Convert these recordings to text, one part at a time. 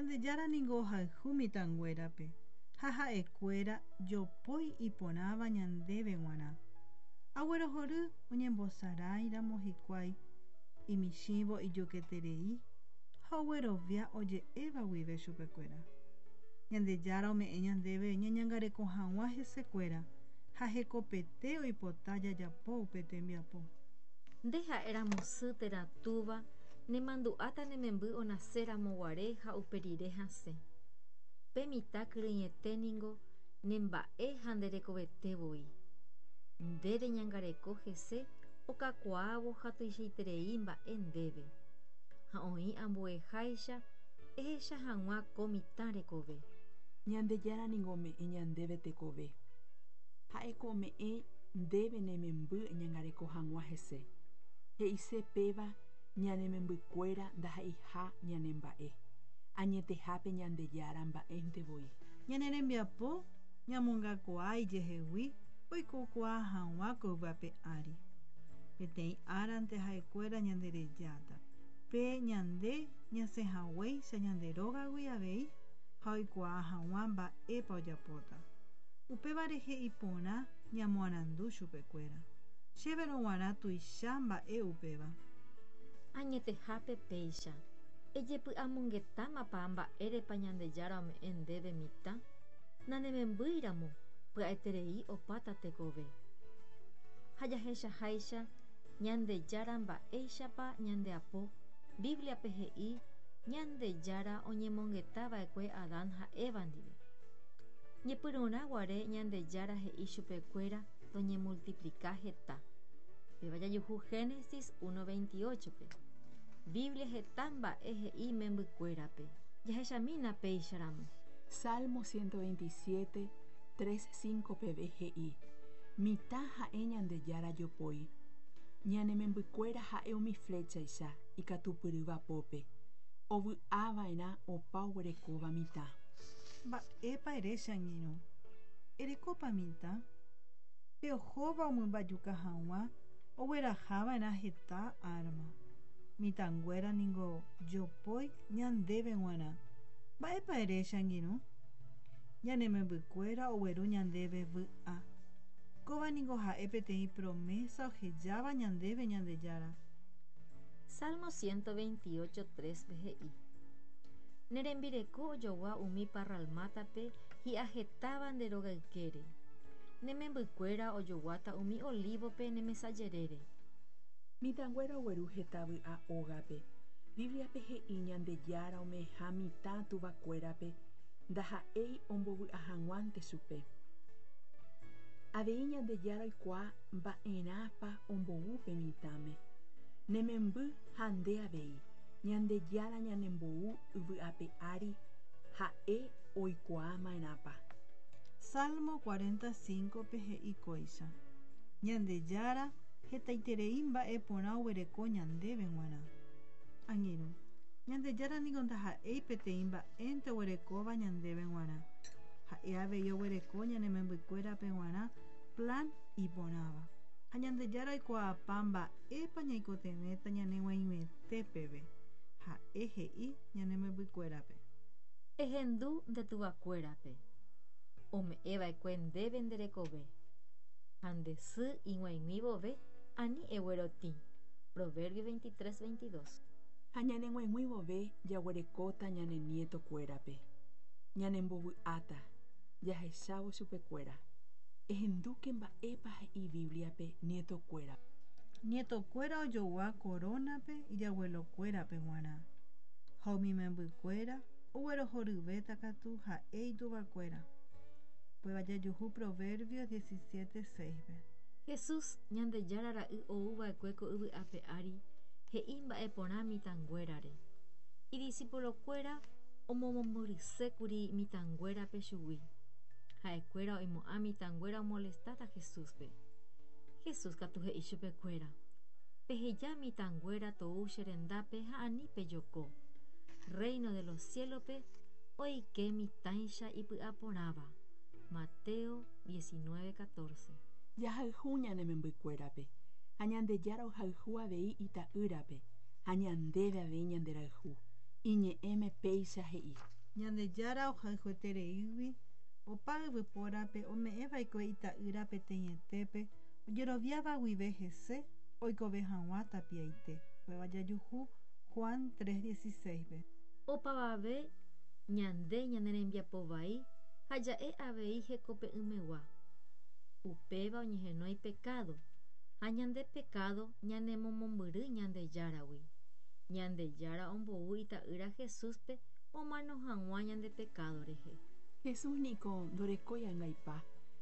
Ñandejára ningo ohayhu mitãnguérape ha ha'ekuéra jopói iporãva ñandéve g̃uarã. Aguerohory oñembosaráiramo hikuái imichĩvo ijuketerei ha oguerovia oje'éva guive chupekuéra. Ñandejára ome'ẽ ñandéve ñañangareko hag̃ua hesekuéra ha hekopete oipota jajapo upe tembiapo. Nde ha'éramo sy térã túva, nemandu'áta ne memby onaséramo guare ha upe rire hasẽ. Pe mitã kyrỹiete ningo nemba'e ha nde rekovete voi. Nde reñangareko hese okakuaávo ha tuichaiterei mba'e ndéve. Ha oĩ ambueháicha ehecha hag̃ua ko mitã rekove. Ñandejára ningo ome'ẽ ñandéve tekove. Ha'éko ome'ẽ ndéve ne memby eñangareko hag̃ua hese. He'ise péva ñane membykuéra ndaha'eiha ñane mba'e. Añetehápe Ñandejára mba'énte voi. Ñane rembiapo ñamongakuaa ijehegui oikokuaa hag̃ua ko yvy ári. Peteĩ árante ha'ekuéra ñanderejáta. Pe ñande ñasẽhaguéicha ñande rógagui avei ha oikuaa hag̃ua mba'épa ojapóta. Upéva rehe iporã ñamoarandu chupekuéra. Chéverõ g̃uarã tuicha mba'e upéva. Añetehápe péicha. Ejepy'amongetámapa mba'érepa Ñandejára ome'ẽ ndéve mitã? Nanemembýiramo, pya'eterei opáta tekove. Ha jahechaháicha Ñandejára mba'éichapa ñandeapo, Bíbliape he'i Ñandejára oñemongetava'ekue Adán ha Eva ndive. Ñepyrũrã guare Ñandejára he'i chupekuéra toñemultiplika heta. Péva jajuhu Génesis 1:28-pe. Biblia heta mba'e he'i membykuérape. Jahechamína péicharamo. Salmo 127, 3, 5 peve he'i: Mitã ha'e Ñandejára jopói. Ñane membykuéra ha'e umi fléchaicha ikatupyrýva pópe. Ovy'ava'erã opa oguerekóva mitã. Mba'épa ere che angirũ? Erekópa mitã? Pe ohóva omymbajuka hag̃ua oguerahava'erã heta árma. Mitãnguéra ningo jopói ñandéve g̃uarã. Mba'épa ere che angirũ? Ñane membykuéra ogueru ñandéve vy'a. Kóva ningo ha'e peteĩ promesa ohejáva ñandéve Ñandejára. Salmo 128, 3 he'i: Ne rembireko ojogua umi parralmátape hi'ahetáva nde rogaykére. Ne membykuéra ojoguáta umi olívope ne mesa jerére. Mitãnguéra ogueru heta vy'a ógape. Bíbliape he'i Ñandejára ome'ẽha mitã tuvakuérape ndaha'éi ombovy'a hag̃uánte chupe. Avei Ñandejára oikuaa mba'erãpa ombou pe mitãme. Ne memby ha nde avei, Ñandejára ñanembou yvy ape ári ha'e oikuaa ma'erãpa. Salmo 45-pe he'i kóicha: Ñandejára hetaiterei mba'e porã oguereko ñandéve g̃uarã. Angirũ, Ñandejára niko ndaha'éi peteĩ mba'énte oguerekóva ñandéve g̃uarã. Ha'e avei oguereko ñane membykuérape g̃uarã plan iporãva. Ha Ñandejára oikuaapa mba'épa ñaikotevẽta ñaneg̃uaig̃uete peve. Ha'e he'i ñane membykuérape. Ehendu nde tuvakuérape, ome'ẽva'ekue ndéve nde rekove. Ha nde sy ig̃uaig̃ui vove, ani eguerotĩ. Proverbios 23, 22. Ha ñaneg̃uaig̃ui vove jaguerekóta ñane nietokuérape. Ñanembovy'áta jahechávo chupekuéra. Ehendúke mba'épa he'i Bíbliape nietokuéra. Nietokuéra ojogua korónape ijaguelokuérape g̃uarã, ha umi membykuéra oguerohoryvéta katu ha'e ituvakuéra. Upéva jajuhu Proverbios 17, 6-pe. Jesús, Ñandejára ra'y ouva'ekue ko yvy ape ári, he'i mba'e porã mitãnguérare. Idisipulokuéra omomombyrysékuri mitãnguérape chugui. Ha'ekuéra oimo'ã mitãnguéra omolestáta Jesúspe. Jesús katu he'i chupekuéra: Peheja mitãnguéra tou che rendápe ha ani pejoko. Reino de los ciélope oike mitãicha ipy'aporãva. Mateo 19, 14. Jahayhu ñane membykuérape, ha Ñandejára ohayhu avei ita'ýrape, ha ñandéve avei ñanderayhu. Iñe'ẽme péicha he'i. Ñandejára ohayhuetereígui opa yvypórape ome'ẽva'ekue ita'ýra peteĩetépe ojeroviáva guive hese oikove hag̃ua tapiaite. Upéva jajuhu Juan 3:16-pe. Opavave ñande ñane rembiapo vai ha ja'e avei hekope'ỹmegua. Upéva oñehenói pekádo, ha ñande pekádo ñanemomombyry Ñandejáragui. Ñandejára ombou ita'ýra Jesúspe omano hag̃ua ñande pekádo rehe. Jesús niko ndorekói angaipa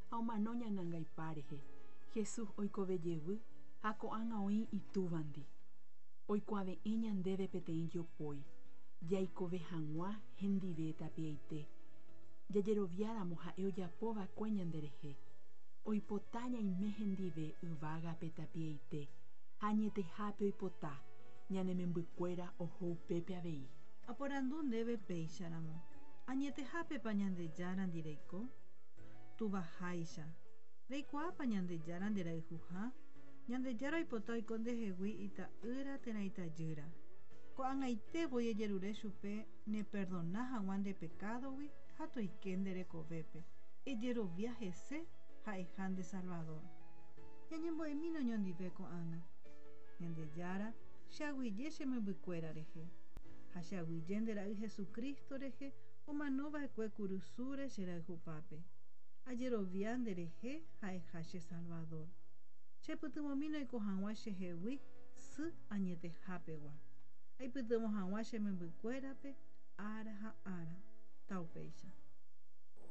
ha omano ñane angaipa rehe. Jesús oikove jevy ha ko'ág̃a oĩ Itúvandi. Oikuave'ẽ ñandéve peteĩ jopói, jaikove hag̃ua hendive tapiaite, jajeroviáramo ha'e ojapova'ekue ñanderehe. Oipota ñaime hendive yvágape tapiaite ha añetehápe oipota ñane membykuéra oho upépe avei. Aporandu ndéve péicharamo, Añetehápepa Ñandejárandi reiko? Tuvaháicha, reikuaápa Ñandejára nderayhuha? Ñandejára oipota oiko ndehegui ita'ýra térã itajýra. Ko'ag̃aite voi ejerure chupe neperdona hag̃ua nde pekádogui ha toike nde rekovépe, ejerovia hese ha'eha nde Salvador. Ñañembo'emína oñondive ko'ág̃a. Ñandejára, che aguyje che membykuéra rehe, ha che aguyje nde Ra'y Jesucristo rehe omanova'ekue kurusúre che rayhupápe. Ajerovia nde rehe ha'eha che Salvador. Chepytyvõmína oiko hag̃ua chehegui sy añetehápegua. Aipytyvõ hag̃ua che membykuérape ára ha ára. Taupéicha.